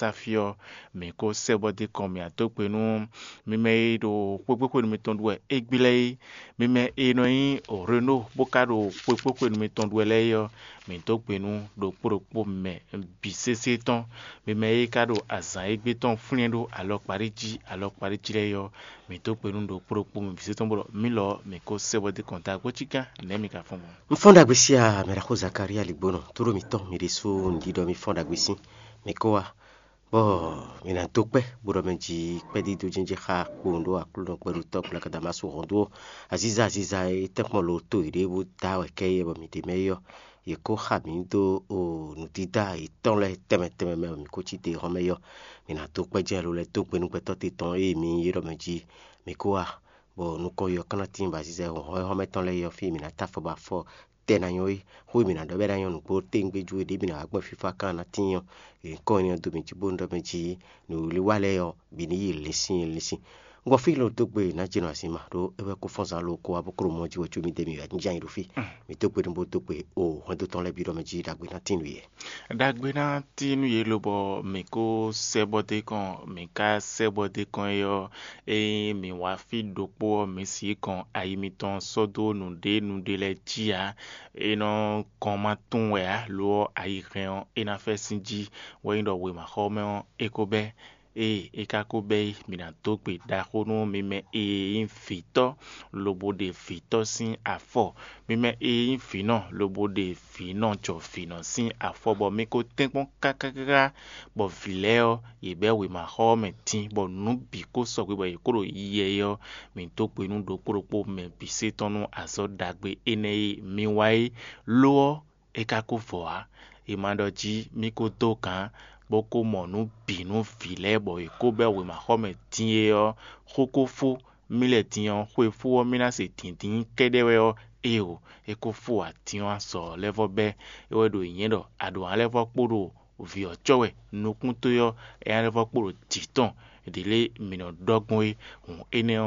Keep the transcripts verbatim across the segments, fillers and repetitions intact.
táfí ɔ́, mǐ ko sɛ́ bɔ dó kɔn mǐ adó gbe nú mi mɛ e ɖo xwégbéxwenu mitɔn ɖu wɛ égbé lɛ́ɛ é. Mi mɛ e nɔ nyí Reno bó ka ɖo xwégbéxwenu mitɔn ɖu wɛ lɛ́ɛ é ɔ́, mǐ dó gbe nú ɖokpó ɖokpó mɛ bǐ sésé tɔn. Mi mɛ e ka ɖo azǎn égbé tɔn flɛ́n ɖó alɔkpaɖí jí alɔkpaɖí jí lɛ́ɛ é ɔ́, mǐ dó gbe nú ɖokpó ɖokpó mɛ bǐ sésé tɔn bɔ mǐ lɔ mǐ ko sɛ́ bɔ dó kɔn dó agbócígán nɛ̌ mi ka fɔ́n gbɔn. Un fɔ́n ɖagbe sí a mɛ ɖaxó Zakalía Ligbónɔ, tlóló mǐtɔn mi ɖésú un ɖiɖɔ mi fɔ́n ɖagbe sín. Mi kó wá, bɔ mi ná dó kpɛ́, bó ɖɔ mɛ jí kpɛ́dídó jɛ́njɛ́n xá kpowun ɖó Aklúnɔ gbɛɖutɔ́ Glakadamásu hɔn dó aziza aziza e tɛ́nkpɔ́n lo tó yěɖée bó dá wɛ kɛ́ yɛ bɔ mi ɖe mɛ é ɔ́, yě kó xa mǐ dó nǔdídá yětɔn lɛ́ɛ tɛnmɛ tɛnmɛ mɛ bɔ mǐ kó cí te hɔn mɛ é ɔ́, mi ná dó kpɛ́ jɛ́n lo lɛ́ɛ dó gbe nú gbɛtɔ́ te tɔn e mi ylɔ́ mɛ jí mi kó wá, bɔ nukɔn yi ɔ́ kán ná tíin bɔ aziza e hɔn hɔn mɛ tɔn lɛ́ɛ é ɔ́ fí e mǐ ná tá afɔ bɔ afɔ tɛ́ ná nyɔ́ é. Xó e mǐ ná ɖɔ bɛ́ ná nyɔ́ nǔgbó téwúngbéjú e ɖě mǐ ná wá gbɔn fífá kán ná tíin ɔ́, è nyǐkɔ énɛ́ ɔ́ dó mi jí bónú ɖɔ mɛ jí nǔwiwa lɛ́ɛ ɔ́ bǐ ní yi linsin linsin. Un gbɔ fí lo dó gbe nǎ jɛ nɔ azin ma ɖó é wɛ kó fɔ́n zán lo kó wá bó kó ɖo mɔ jí wɛ có mì dé mi wɛ jínján yi ɖo fí. Mǐ dó gbe nú bó dó gbe o hwɛndo tɔn lɛ́ɛ bǐ ɖɔ mɛ jí ɖagbe ná tín nǔ yɛ. Ɖagbe ná tín nú yě lobɔ mǐ kó sɛ́ bɔ dó kɔn mǐ ka sɛ́ bɔ dó kɔn é ɔ́, ényí mǐ wá fí ɖokpó ɔ́, mǐ sixú kɔn ayi mitɔn sɔ́ dó nǔɖé nǔɖé lɛ́ɛ jí ǎ. É nɔ kɔn ma tunwun wɛ ǎ, lo ɔ́, ayi hɛn ɔ́, é ná fɛ́ sín jí, wɛ nyí ɖɔ wěmaxɔmɛ ɔ́, é ko bɛ́. Ée é ka ko bɛ́ é, mǐ ná dó gbe ɖaxó nú mi mɛ e nyí vǐtɔ́ lobo ɖe vǐtɔ́ sín afɔ, mi mɛ e nyí vǐnɔ lobo ɖe vǐnɔ jɔ vǐnɔ sín afɔ, bɔ mi ko tɛ́nkpɔ́n káká káká, bɔ vǐ lɛ́ɛ ɔ́, yě bɛ́ wěmaxɔ ɔ́ mɛ dín, bɔ nǔ bǐ ko sɔgbe bɔ yě ko ɖo yiyi wɛ é ɔ́, mǐ dó gbe nú ɖokpó ɖokpó mɛ bǐ se tɔn nú azɔ̌ ɖagbe énɛ́ e mi wa é. Lo ɔ́, é ka ko vɔ ǎ. È ma ɖɔ jí mì ko dó gǎn, bó ko mɔ nǔ bǐ nú vǐ lɛ́ɛ bɔ yě ko bɛ́ wěmaxɔmɛ din é ɔ́, xó ko fó mì lɛ́ɛ din ɔ́, xwe fó ɔ́, mì ná se dǐndín kɛ́ɖɛ́ wɛ ɔ́, éeǒ, é ko fó atín ɔ́ azɔ̌ lɛ́ɛ vɔ́ bɛ́. É wɛ ɖo nyǐnyɛ́ ɖɔ a ɖǒ ná lɛ́ vɔ́ kpo ɖo vǐ ɔ́ cɔ́ wɛ nukúnto ɔ́, é ná lɛ́ vɔ́ kpo ɖo jǐ tɔn ɖě lě mǐ nɔ ɖɔ gbɔn é. Hǔn énɛ́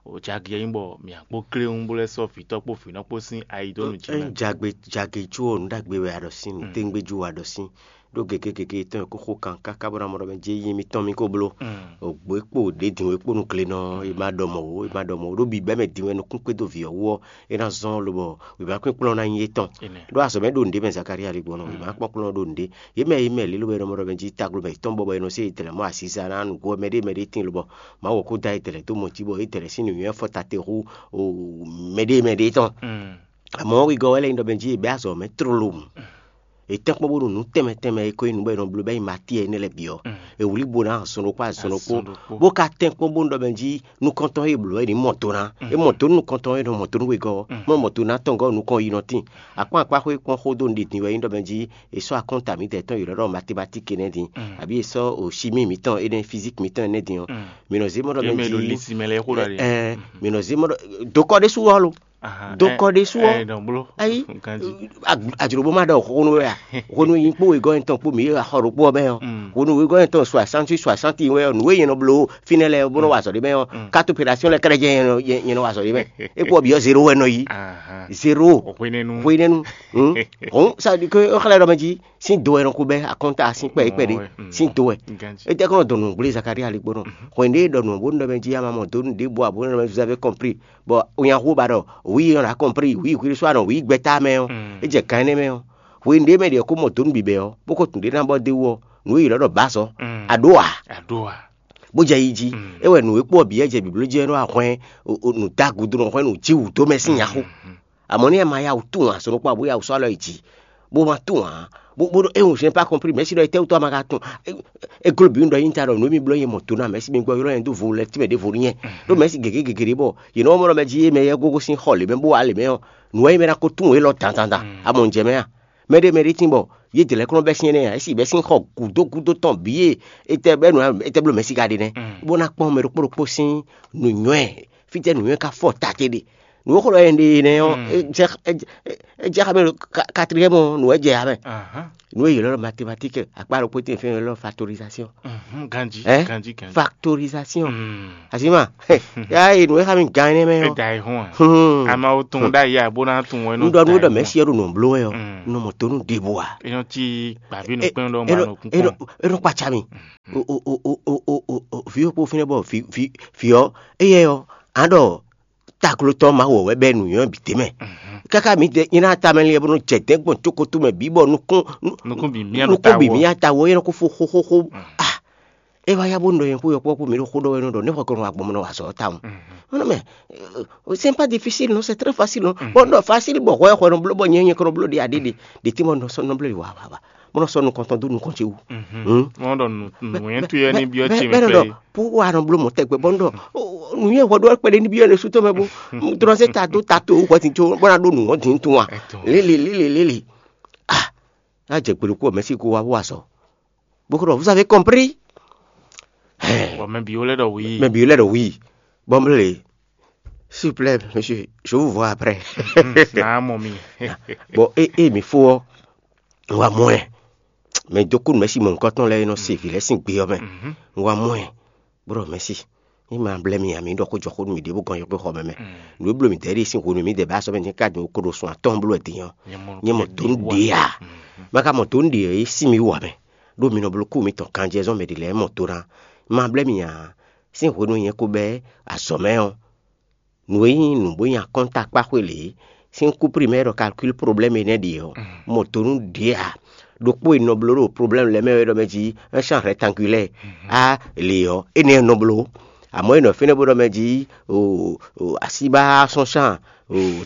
ɔ́, jagě nyí bɔ mǐ kpó kléwún bó lɛ́ sɔ́ vǐtɔ́ kpó vǐnɔ kpó sín ayi dó nǔ jí mɛ. Jagbe jagě jú ɔ́, nǔ ɖagbe wɛ a ɖɔ sín, nǔ téŋgbé jú wɛ a ɖɔ sín. Ɖó gěgé gěgé tɔn e kó xo kan káká bó ná mɔ ɖɔ mɛ jɛ yi mitɔn mi ko bló. Ògbó e kpo ɖě din e kpo nú glenɔ e ma ɖɔ mɔ̌ ó, e ma ɖɔ mɔ̌ ó. Ɖó bǐbɛ́ mɛ din wɛ nukún kpédó vǐ ɔ́ wú ɔ́, é ná zɔ́n lobɔ wěma kpínkplɔ́n ná nyí étɔn. Ɖó azɔ̌ mɛ ɖo nǔɖé mɛ Zakalía ɖi gbɔn nɔ, wěma kpɔ́nkplɔ́n ɖo nǔɖé. Yě mɛ e mɛ lě lobɔ è nɔ mɔ ɖɔ mɛ jí taglomɛ yětɔn bɔbɔ è nɔ se yětɛlɛ mɔ asisa ná nǔgbó mɛ ɖé mɛ ɖé tíin lobɔ Mawu ɔ́ kó dó ayǐ tɛlɛ dó mɔ jí bɔ yě tɛlɛ sín nǔnywɛ́ fɔ ta te hú mɛ ɖé mɛ ɖé tɔn. Amɔ̌ wegɔ́ wɛ lɛ́ nyí ɖɔ mɛ jí è bɛ́ azɔ̌ mɛ tlóló mu. È tɛ́nkpɔ́n bónú nǔ tɛnmɛ tɛnmɛ e ko nyí nǔ bɔ è nɔ bló bɛ́ nyi Matíɛ énɛ́ lɛ́ɛ bǐ ɔ́, è wlí bo ná azɔn ɖokpó azɔn ɖokpó, bó ka tɛ́nkpɔ́n bónú ɖɔ mɛ jí nukɔntɔn e blǒ wɛ ní mɔ do ná. É mɔ do nú nukɔntɔn e nɔ mɔ do nú wegɔ́ ɔ́, mɔ mɔ do ná tɔn gɔ́ nukɔn yi nɔ tíin. Akpán akpá xó e kpɔ́n xó dó nǔɖiɖi wɛ nyí ɖɔ mɛ jí è sɔ́ akɔ́nta mǐtɛn tɔn yi lɔ́ ɖɔ matemátiki énɛ́ din, abǐ è sɔ́ o chimí mǐtɔn énɛ́ fízík mǐtɔn énɛ́ din ɔ́, mǐ nɔ zé mɔ ɖɔ mɛ jí mǐ nɔ zé mɔ ɖɔ dokɔ ɖésú ɔ́ lo. Dokɔ ɖésú ɔ́, ayi ajlobo ma ɖɔ xonu wɛ a? Xonu yi kpó wegɔ́ yɛn tɔn kpó mǐ yi axɔ ɖokpó ɔ́ mɛ ɔ́, xonu wegɔ́ yɛn tɔn soixante soixante wɛ ɔ́, nǔ e yɛn nɔ bló fínɛ́ lɛ́ɛ bó nɔ wa azɔ̌ ɖé mɛ ɔ́, carte opération lɛ́ɛ kɛ́ɖɛ́ jɛ́n yɛn nɔ wa azɔ̌ ɖé mɛ. É kpó ɔ́ bǐ ɔ́ zéro wɛ nɔ yi. Zéro. Hwenɛ́nu. Hwenɛ́nu. Hɔn ça veut dire que xlɛ́ ɖɔ mɛ jí sín do wɛ nɔ ko bɛ́ akɔnta sín kpɛ kpɛ ɖé sín do wɛ. Étɛ́ kɔnɔ dɔn nǔgblé Zakaria lé gbɔnɔ. Hwɛn ɖé ɖɔ nǔ bó nɔ mɛ jí ama mɔ dó nú ɖěbǔ abo nɔ mɛ vous avez compris. Bɔ onyaxu ba ɖɔ oui on a compris, oui oui so anɔ oui gbɛta mɛ ɔ́, é jɛ kan énɛ́ mɛ ɔ́. Hwenu ɖé mɛ ɖě ko mɔ dó nú bǐbɛ́ ɔ́, bó ko tún ɖé ná bɔ dé wú ɔ́, nǔ e yě lɔ ɖɔ bǎzɔ, a ɖó a? Aɖó a? Bó jɛ yi jí. É wɛ nǔ e kpó ɔ́ bǐ wɛ jɛ bǐbló jí wɛ nɔ wá hwɛ́n nǔ dó agudo nɔ hwɛ́n nǔ jí wǔ dó mɛ sín nyaxu. Amɔ̌ ní ɛ ma ya wǔ tunwun azɔ̌ ɖokpó abo ya wǔ sɔ́ alɔ yi jǐ, bó ma tunwun ǎ. Bó bó ɖɔ é wǔ zɛ́n pas compris, mɛ̌si ɖɔ étɛ́wútu a ma ka tunwun? É gló bǐ un ɖɔ nyi ta ɖɔ nǔ e mi bló nyɛ mɔ do ná mɛ̌si mi gbɔ ylɔ́ nyɛ dó vo lɛ tínmɛ ɖěvo nú nyɛ. Ɖó mɛ̌si gěgé gěgé ɖé bɔ yě nɔ mɔ ɖɔ mɛ jí é mɛ yɛ gógó sín xɔ lě mɛ bó wá lě mɛ ɔ́, nǔ wɛ nyí mɛ ná ko tunwun élɔ́ dandan. A mɔ nǔ jɛ mɛ a? Mɛ ɖé mɛ ɖé tín bɔ yě dě lɛ́ɛ kɔn bɛ́ sín énɛ́ ǎ, é sì bɛ́ sín xɔ gǔdo gúdo tɔn bǐ e étɛ́ bɛ́ nǔ étɛ́ bló mɛ̌si ka ɖe nɛ́, bó ná kpɔ́n mɛ ɖokpó ɖokpó sín nǔnywɛ́, fítɛ́ nǔnywɛ́ ka fɔ ta te ɖe. Nǔ e xlɔ́ ɛ ɖe nɛ́ ɔ́, é jɛ é jɛ- é jɛ xá mɛ ɖo quatrième ɔ́, nǔ wɛ jɛ ya mɛ. Nǔ e yě lɔ́ ɖɔ mathématique, akpá ɖokpó tɛ́n fɛ́n lɔ́ factorisation. Factorisation. Asima, ya e nǔ e xá mi gán énɛ́ mɛ ɔ́. Amawo tun ɖ'ayǐ abo ná tun wɛ nɔ. Un ɖɔ nú ɖɔ mɛ̌si ɔ́ ɖo nǔ bló wɛ ɔ́, un nɔ mɔ tónú ɖěbǔ ǎ. Enɔ tí gbàbí nukpɛ́n ɖɔ ma nɔ kún kpɔn. Enɔ kpatsa mi. Vǐ ɔ́ kpó fínɛ́ bɔ vǐ ɔ́ éyɛ ɔ́, á ɖɔ tagló tɔn ma wɔ wɛ bɛ nǔnywɛ́ bǐ tɛ́ mɛ. Káká mǐdɛɛ nyí ná tamɛ lɛ bó nɔ jɛ dɛ̌ gbɔn cókótó mɛ bǐ bɔ nukún nukún bǐ mì ata wɔ yɛ nɔ kó fó xóxóxó. Ah, é wá yá bó nɔ yɛn kó yɔkpɔ́ kó mǐ ɖo xó ɖɔ wɛ nɔ ɖɔ nɛ́ xɔ kɔnɔ wa gbɔn mɔ nɔ wa azɔ̌ tawun. Nɔ mɛ c'est pas difficile non, c'est très facile non. Bon nɔ facile bɔ hwɛ xɔ nɔ bló bɔ nyɛ nyɛ kɔnɔ bló ɖi aɖé ɖe. Ɖe tí mo nɔ sɔ nɔ bló wa wa wa mo nɔ sɔ nukɔntɔn dó nukɔn ce wú. Mɔ ɖɔ nǔnyɛ́tú yɛ ní byɔ́ ce mɛ pɛ́. Pú wa nɔ bló mɔ tɛgbɛ bɔ nɔ nǔnyɛ hwɛ ɖó kpɛɖé ní byɔ́ ne sú tɔn mɛ bó. Drɔn sɛ ta dó ta to hwɛ tin tso bɔ na ɖó nǔ wɔn din tun wa. Lélè lélè lélè. Ah, a jɛ gbèɖokú mɛ sí kó wa wó azɔ. Bó kó ɖɔ vous avez compris. Bɔ mɛ bǐ wó lɛ́ ɖɔ wǐ. Mɛ bǐ lɛ́ ɖɔ wǐ. Bɔ n blé, s'il vous plaît monsieur, je vous vois après. Naa mɔ mi. Bon, e e mi fo ɔ, n wa mɔ ɛ. Mɛ dó kú mɛ si mɔ nukɔn tɔn lɛ nɔ se vǐ lɛ sín gbe ɔ́ mɛ. N wa mɔ ɛ. Bro mɛ si. Ní ma blɛ́ mi ǎ, mi ɖɔ xó jɔ xó nú mi ɖěbǔ gɔn yɔkpɔ́ xɔ mɛ mɛ. Nǔ e bló mi dɛ̌ ɖe sín hwenu mi dɛ bá sɔ́ mɛ ní ká dun kó ɖo sun atɔ́ɔ́n bló wɛ din ɔ́, nyɛ mɔ dó nú ɖě ǎ. Ma ka mɔ dó nú ɖě ɔ́, é sí mi wú ǎ mɛ. Ɖó mi nɔ bló kú mitɔn kanjɛ zɔ́n mɛ ɖě lɛ́ɛ mɔ do ná. Ma blɛ́ mi ǎ, sín hwenu nyɛ ko bɛ́ azɔ̌ mɛ ɔ́, nǔ e nyí nǔ bó nyí akɔ́ntakpáxwé lě sín kú primɛ́ ɖɔ kalkúl problɛ́mu énɛ́ ɖe ɔ́, mɔ do nú ɖě ǎ. Ɖokpó e nɔ bló ɖo problɛ́mu lɛ́ɛ mɛ wɛ ɖɔ mɛ jí un champ rectangulaire á lě ɔ́, énɛ́ nɔ bló. Amɔ̌ e nɔ fínɛ́ bó ɖɔ mɛ jí asíbá sɔ́ champ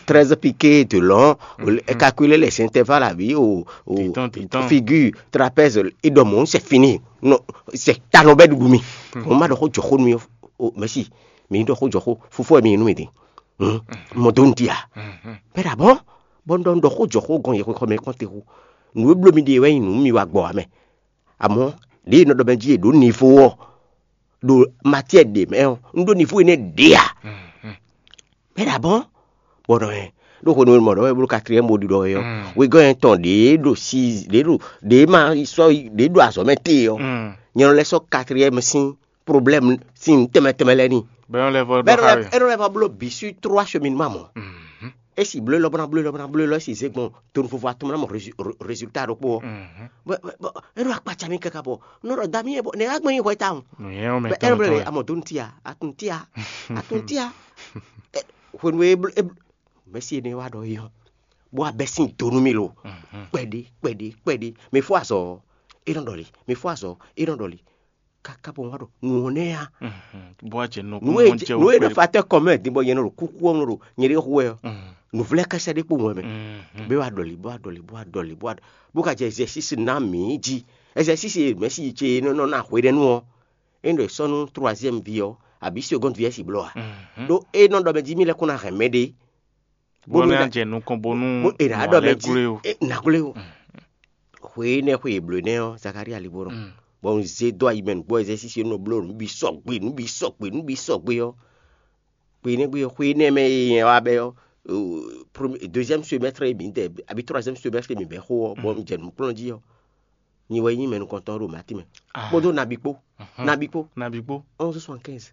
treize piqué de long, calculer les intervalles abi o figure trapèze, e ɖɔ mɔ̌ c'est fini. C'est ta nɔ bɛ ɖuɖu mi. Mo ma ɖɔ xó jɔ xó nú mi. Mɛsi, mi ɖɔ xó jɔ xó, fofó wɛ mi nú mi din. Mɔ dó nti a? Bɛ ɖa bɔ bɔ un ɖɔ un ɖɔ xó jɔ xó gɔn yɛ xó mɛ kɔn te xó. Nǔ e bló mi ɖe wɛ nyí nǔ mi wa gbɔ ame. Amɔ̌ ɖě e nɔ ɖɔ mɛ jí è ɖǒ nivo ɔ́, ɖo matière ɖě mɛ ɔ́, un ɖó nivo énɛ́ ɖě a? Bɛ ɖa bɔ bɔ nɔ hɛn ɖó xó nú mɔ ɖɔ wɛ bló quatrième bo ɖiɖɔ wɛ ɔ́, wegɔ́ yɛn tɔn ɖě ɖo si ɖě ɖo ɖě ma sɔ́ ɖě ɖo azɔ̌ mɛ te ɔ́, nyɛ nɔ lɛ́ sɔ́ quatrième sín problème sín tɛmɛ tɛmɛ lɛ́ɛ ní. Bɛ nɔ lɛ́ vɔ ɖɔ xá wɛ. Ɛ nɔ lɛ́ vɔ bló bǐ sur trois cheminement mɔ. É si bló lɔ bó ná bló lɔ bó ná bló lɔ é si zé gbɔn tonu vovo atɔn ná mɔ résultat ɖokpó ɔ́. É ɖo akpatsa mi kaka bɔ nɔ ɖɔ dami yɛ bɔ nɛ agbɛn yi hwɛ tawun. Bɛ ɛ nɔ bló lɛ amɔ donu tia atun tia atun tia. Hwenu e mɛsi ene wa ɖɔ yi hɔn bó abɛ sin donu mi lo. Kpɛɖé kpɛɖé kpɛɖé mi fó azɔ é nɔ ɖɔli mi fó azɔ é nɔ ɖɔli. Kaka bɔ wá ɖɔ nǔ ɔ́ nɛ́ ya. Bó wá jɛ nɔ nú e nú e ɖo facteur commun din bɔ nyɛ nɔ ɖo kúkú ɔ́ nɔ ɖo nyɛ ɖe xú wɛ ɔ́, nǔvlɛ́ kɛsɛ ɖé kpo wɛn mɛ. Bó wá ɖɔli bó wá ɖɔli bó wá ɖɔli bó wá bó ka jɛ exercice ná mǐ jí. Exercice e mɛ̌si ce e nɔ ná hwe ɖɛ nú ɔ́, é nɔ sɔ́ nú troisième vie ɔ́ abǐ seconde vie si bló a? Ɖó é nɔ ɖɔ mɛ jí mì lɛ́ kó ná hɛn mɛ ɖé. Bó nɔ jɛ nukɔn bónú bó e nǎ ɖɔ mɛ jí e nǎ glé o. Xwe énɛ́ xwe e blǒ énɛ́ ɔ́, Zakaria lí bó nɔ bɔ un zé dó ayi mɛ nǔgbó exercice nɔ bló nǔ bǐ sɔgbe nǔ bǐ sɔgbe nǔ bǐ sɔgbe ɔ́. Xwe énɛ́ gbe ɔ́, xwe énɛ́ mɛ e nyɛ wá bɛ ɔ́, premier deuxième semestre e mǐ dɛ abi troisième semestre e mǐ bɛ xó ɔ́, bɔ un jɛ nǔkplɔ́n jí ɔ́, nyi wɛ nyí mɛ nukɔntɔn ɖo Mati mɛ kpódó nabi kpó. Nabi kpó. Nabi kpó. Onze soixante-quinze.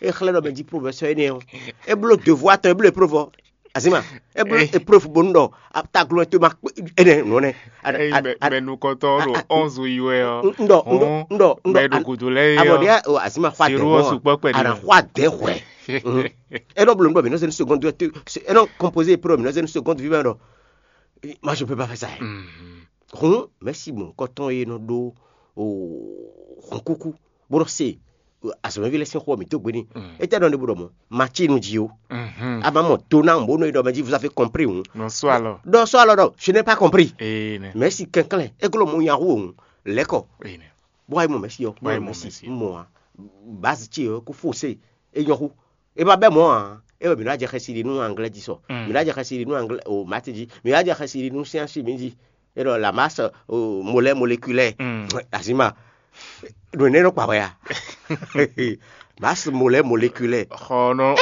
E xlɛ́ ɖɔ mɛ jí professeur énɛ́ ɔ́, e bló devoir tɔn e bló épreuve ɔ́. Azima, e bló épreuve bónú ɖɔ taglɔn to ma kpé énɛ́ nɔ nɛ. Eyi mɛ nukɔntɔn ɖo onze yi wɛ ɔ. Ndɔ ndɔ ndɔ ndɔ. Mɛ ɖo godo lɛ yi ɔ. Abɔ ɖe azima xɔ adɛ hɔn. Ana xɔ adɛ hɔɛ. E nɔ bló nubɔ mi nɔ se ni seconde, e nɔ composer épreuve mi nɔ se ni seconde vi mɛ ɖɔ. Moi je peux pas faire ça. Hun mɛsi mɔ̌hunkɔtɔn e nɔ ɖó hɔnkúkú bó nɔ se azɔ̌mɛví lɛ́ɛ sín xó ɔ́ mǐ dó gbe n'i. Étɛ́ nɔ ɖe bó ɖɔ mɔ̌? Macínu jí ó. A ma mɔ do ná bó nɔ yi ɖɔ mɛ jí vous avez compris hǔn. Ɖɔ sɔ́ alɔ ɖɔ je n'ai pas compris. Mɛ̌si kɛnklɛ́n é glɔ́ mɔ nya hú òun lɛ́kɔ. Bó wá yi mɔ mɛ̌si ɔ́ bó wá yi mɔ mɛ̌si mɔ ǎ. Bǎzi ce ɔ́ kó fó se é nyɔ́ hú. E ma bɛ mɔ̌ ǎ, é wɛ mǐ ná jɛ xɛsi ɖi nú anglɛ́ jí sɔ. Mǐ ná jɛ xɛsi ɖi nú anglɛ́ o mati jí. Mǐ ná jɛ xɛsi ɖi nú science chimie jí. É ɖɔ la masse o molɛ moléculaire. Azima. Ɖo nɛ́ nɔ kpa hwɛ a? Masse molaire moléculaire. Xɔnɔ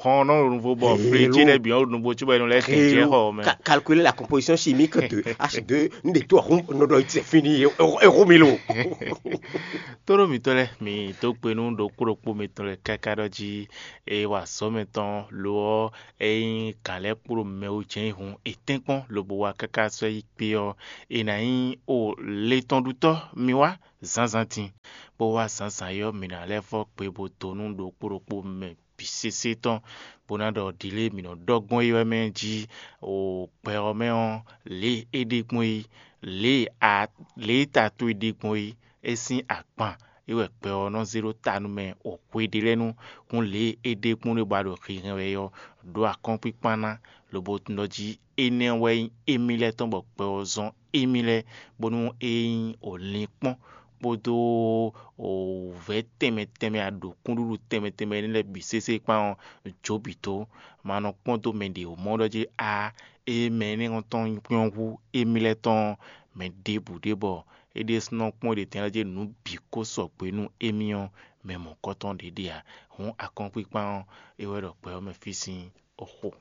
xɔnɔ ɖo nuvo bɔ fletsi lɛ biɔ ɖo nuvo tsi bɔ ɛnu lɛ kɛn jɛ xɔ mɛ. Calculer la composition chimique de H deux, n de to ahun nɔ dɔ itse fini eho mi lo. Tóɖó mitɔn lɛ mi dó gbe nú ɖokpó ɖokpó mitɔn lɛ káká ɖɔ jí eye wa azɔ̌ mɛtɔn lo ɔ́, ényí gǎn lɛ́ɛ kpo ɖo mɛ wú jɛ́n yi hun etɛ́nkpɔ́n lobo wá káká sɔ́ yi kpé ɔ́, è nǎ nyí o letɔnɖutɔ́ mi wá zǎnzǎn din, bó wá zǎnzǎn ɔ́, mǐ ná lɛ́ vɔ́ gbe bó dó nú ɖokpó ɖokpó mɛ bǐ sésé tɔn, bó ná ɖɔ ɖǐlée mǐ nɔ ɖɔ gbɔn é wɛ mɛ jí o gbɛ ɔ́ mɛ ɔ́, lě e é ɖe gbɔn é, lě e a lě e ta towe ɖe gbɔn é, é sín agban é wɛ gbɛ ɔ́ nɔ zé ɖó ta nú mɛ o hwe ɖé lɛ́ɛ nu. Hǔn lě e é ɖe gbɔn ɖé bɔ a ɖo hinhɛn wɛ ɔ́, ɖó akɔ́nkpíkpán ná, lobo tunwun ɖɔ jí énɛ́ wɛ nyí émí lɛ́ɛ tɔn bɔ gbɛ ɔ́ zɔ́n émí lɛ́ɛ, bónú é nyí o linkpɔ́n kpódó wǔvɛ́ tɛnmɛ tɛnmɛ aɖǒkúnɖúɖú tɛnmɛ tɛnmɛ énɛ́ lɛ́ɛ bǐ sésé kpán ɔ́, jǒ bǐ tó. Ma nɔ kpɔ́n dó mɛ ɖě mɔ ɖɔ jí a é mɛ énɛ́ tɔn nyɔ́ hú émí lɛ́ɛ tɔn ɔ́, mɛ ɖěbǔ ɖé bɔ é ɖésúnɔ kpɔ́n ɖě tɛn lɛ́ɛ jí nǔ bǐ kó sɔgbe nú émí ɔ́, mɛ mɔ̌kɔtɔn ɖě ɖe ǎ. Hǔn akɔ́nkpíkpán ɔ́, é wɛ ɖɔ gbɛ ɔ́ mɛ fí sín oxo.